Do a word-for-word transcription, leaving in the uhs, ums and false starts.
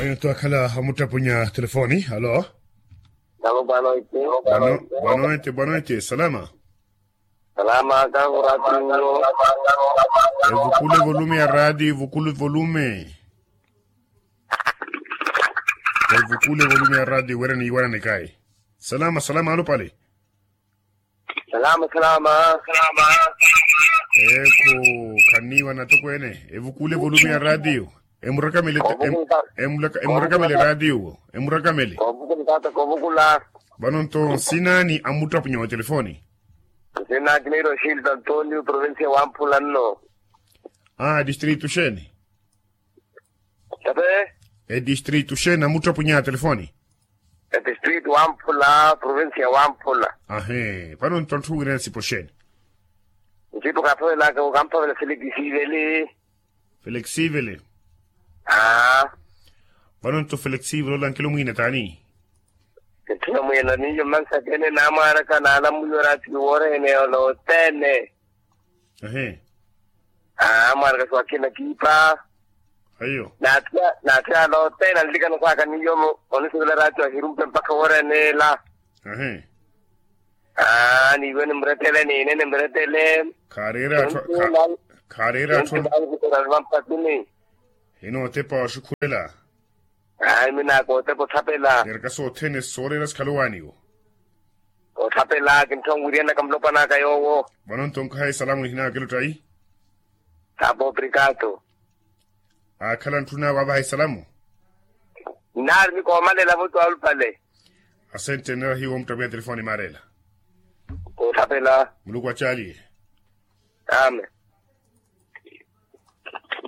Ayo nto akhala amuttapunya telefoni. Alo. Bwanoite, bwanoite, salama. Salama. Evukule volume ya radio, evukule volume. Evukule volume ya radio wira niiwananekayi. Salama, salama alupale. Salama, salama. Eku, khaniiwa natokweene. Evukule volume ya radio. Emurakamele. Emurakamele radio. Emurakamele. Kovukula tata, kovukula. Vano nto nsina ni amuttapunya wa telefoni. Nsina kiniira oxilta antonio provincia wamphula nno. A distrito xeeni? Tate. Edistrito xeeni amuttapunya telefoni? Edistrito wamphula provincia wamphula. Ahi. Vano nto anthu wira nsipo xeeni? Nsipo kaaphavelaka kamphavela felekisivele. Felekisivele. Aa. Vano nto felekisivele ola nkelo mwiina taani? Nthuna mwiina niyo mmansakene naamwaaraka naalamuliwa raatiyo woorehene ola othene. Ehe. Amwaraka swakina kiipa. Ayo. Naathiya naathiya lote nanlikana kwaka niyo. Onisivela raatiyo ahirumpe mpakha woreneela. Ehe. Niiwe nimretele niine nimretele. Khareera atthu. Khareera atthu. Vampatini. Hino otepa oxukhulela. Ayi minaaka otepa othapela. Neeraka sothene sooreera sikhala owaaniwo. Othapela kintthonwiryanaka mulopwanaka yoowo. Vano nto nkhaha esalamu nihinaka kiluttayi. Sapo obrigado. Akhala ntthuna waapaha esalamu. Nnaari nikoomalela vuto alupale. Asente nnaari hiwo muttapiha telefoni maareela. Othapela. Muluku acaaliye. Amen.